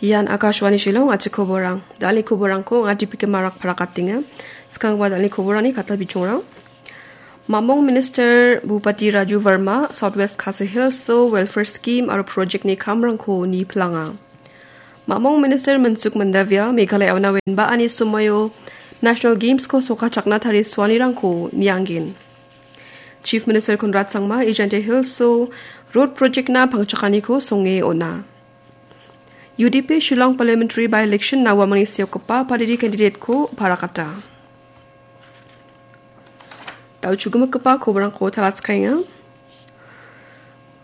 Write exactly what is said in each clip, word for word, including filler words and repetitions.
Ian Akashvani Shillong, a·chik koborang. Dal·ni koborangko anga Dipika Marak parakatenga. Skangba dal·ni koborani kata bichongrang. Mamong Minister Bhupati Raju Verma, Southwest Khasi Hills-o welfare scheme aro project-ni kamrangko nipilanga. Mamong Minister Mansukh Mandavia, Meghalaya ona wenba ani somoio National Games-ko sokachakna tarisoanirangko nianggen. Chief Minister Conrad Sangma, Ejante Hills-o road project-na pangchakaniko songe ona. U D P Shillong Parliamentary by-election-na uamangni seokgipa padidi candidate-ko parakata. Dal·o chugimikgipa koborangko talatskaenga.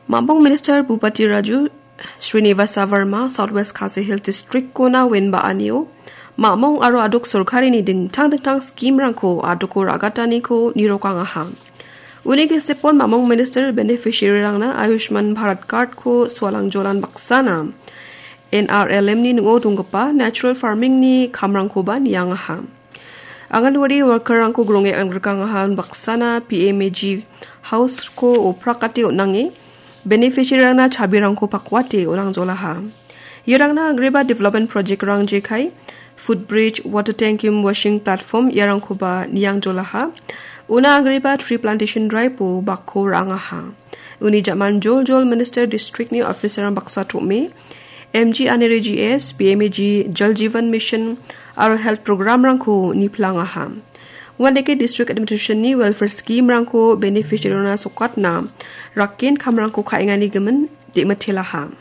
Mamong Minister Bhupati Raju Srinivasa Verma Southwest Khasi Hills District-kona wenba anio mamong aro adok sorkarini dingtang dingtang scheme-rangko adoko ra·gataniko nirokangaha. Uni gisepon mamong Minister beneficiary-rangna Ayushman Bharat Card-ko sualang jolan baksana N R L M-ni ning·o donggipa natural farming-ni kamrangkoba niangaha. Anganwadi worker-rangko gronge angrikangaha baksana P M A G House-ko oprakate on·ange beneficiary-rangna chabirangko pakwate on·angjolaha. Iarangna agreba development project-rang jekai, footbridge, water tank cum washing platform iarangkoba niangjolaha. Una agreba tree plantation drive-o bakko ra·angaha. Uni ja·man joljol Minister District-ni officer-rang baksa tom·e, M G Aneri G S, P M A G Jal Jeevan Mission aro health program-rangko nipilangaha. Uandake District Administration-ni welfare scheme-rangko beneficiary-rangna sokatna rakken kamrangko ka·engani gimin de·mitelaha.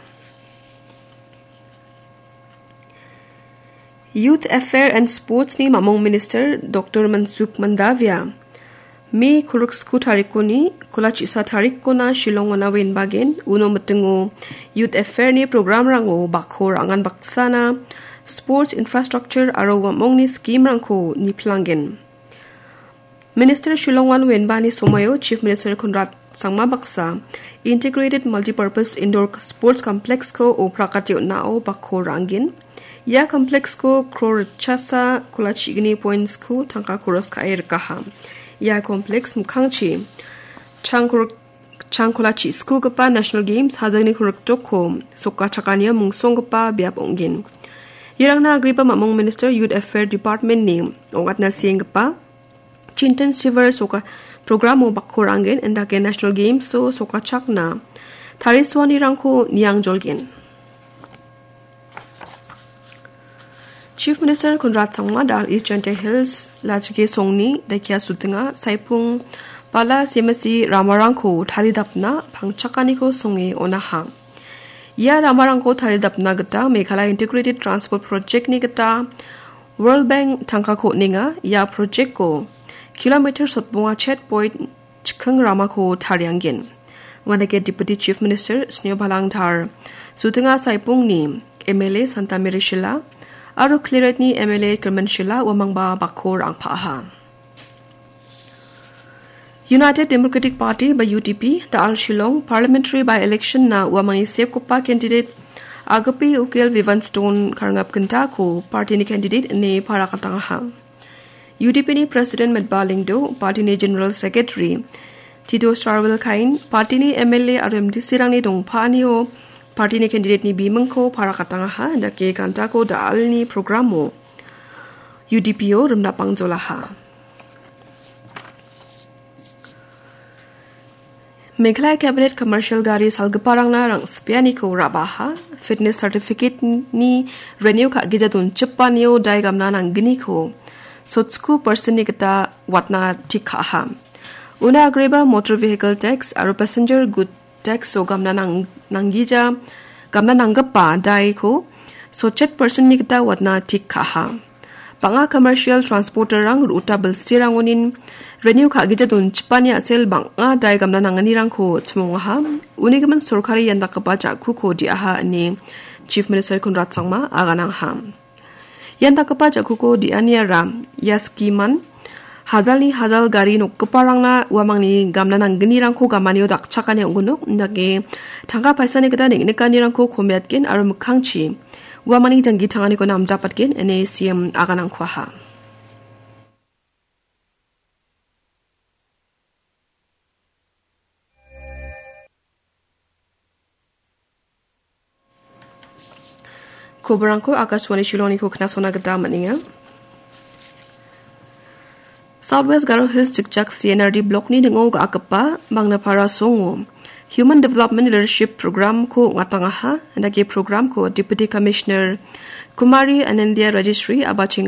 Youth Affair and Sports-ni mamong Minister Doctor Mansukh Mandavia, Me kolgriksku tarikoni, kola chisa tarikkona Shillong-ona wenbagen, uno mitingo Youth Affair-ni program-rango bakko ra·angan baksana sports infrastructure aro uamongni scheme-rangko nipilanggen. Minister Shillong-on wenbani somoio Chief Minister Conrad Sangma baksa Integrated Multipurpose Indoor Sports Complex-ko oprakate on·ao bakko ra·angen. Ia complex-ko crore ritchasa kola chigni points-ko tangka koros ka·e rikaha. Ia complex mikkangchi changkor-, changkola chi·skogipa National Games hajangni kolgriktokko sokachakania mungsonggipa biap ong·gen. Iarangna agreba mamong Minister Youth Affair Department-ni ong·atna sienggipa Chintan Shivar soka programo bakko ra·angen, indake National Games-o sokachakna tarisoanirangko niangjolgen. Chief Minister Conrad Sangma dal East Jaintia Hills Lachike Songni Daikia Sutinga Saipung Bala Semasi ramarangko taridapna pangchakaniko songe onaha. Ia ramarangko taridapna gita Meghalaya Integrated Transport Project-ni gita World Bank tangkako on·enga. Ia project-ko kilometer sotbonga chet point chikking ramako tariangen. Uandake Deputy Chief Minister Sniawbhalang Dhar, Sutinga Saipungni M L A Santa Mary Shylla, aro Khliehriatni M L A Kyrmen Shylla uamangba bakko ra·angpaha. United Democratic Party ba U D P, da·al Shillong Parliamentary by-election-na uamangni sekgipa candidate Agapi Ukil Vivian Stone karngap gintako party-ni candidate ine parakatangaha. U D P-ni President Metba Lyngdoh, party-ni General Secretary Tito Sarwilkain, party-ni M L A aro M D C-rangni dongpaanio party-ni candidate-ni bimingko parakatangaha, indake gantako da·alni programo U D P-o rimna pangjolaha. Meghalaya Cabinet commercial gari salgiparangna rang·sipianiko ra·baha, fitness certificate-ni renew ka·gija donchipanio dai gamna nanggniko sotsko percent-ni gita watna tik ka·aha. Una agreba motor vehicle tax aro passenger good tax-o gamna nang-, nanggija, gamna nanggipa daiko sotchet percent-ni gita watna tik ka·aha. Bang·a commercial transporter-rang ro·ota bilsirangonin renew ka·gija donchipani a·sel bang·a dai gamna nanganirangko chimongaha. Unigimin sorkari ian dakgipa ja·kuko di·aha ine Chief Minister Conrad Sangma aganangha. Ian dakgipa ja·kuko di·aniara ia skiman hajalni hajal gari nokgiparangna uamangni gamna nanggnirangko gamanio dakchakani ong·gnok, indake tangka paisani gita neng·nikanirangko komiatgen aro mikkangchi uamangni janggi tanganiko namdapatgen ine C M aganangkuaha. Koborangko Akashvani Shillongniko knasona gita man·enga. Southwest Garo Hills Jikjak C N R D Blockni ning·o ga·akgipa Mangnapara songo Human Development Leadership Programko ong·atangaha, indake programko Deputy Commissioner Kumari Anandia Registry abachenga.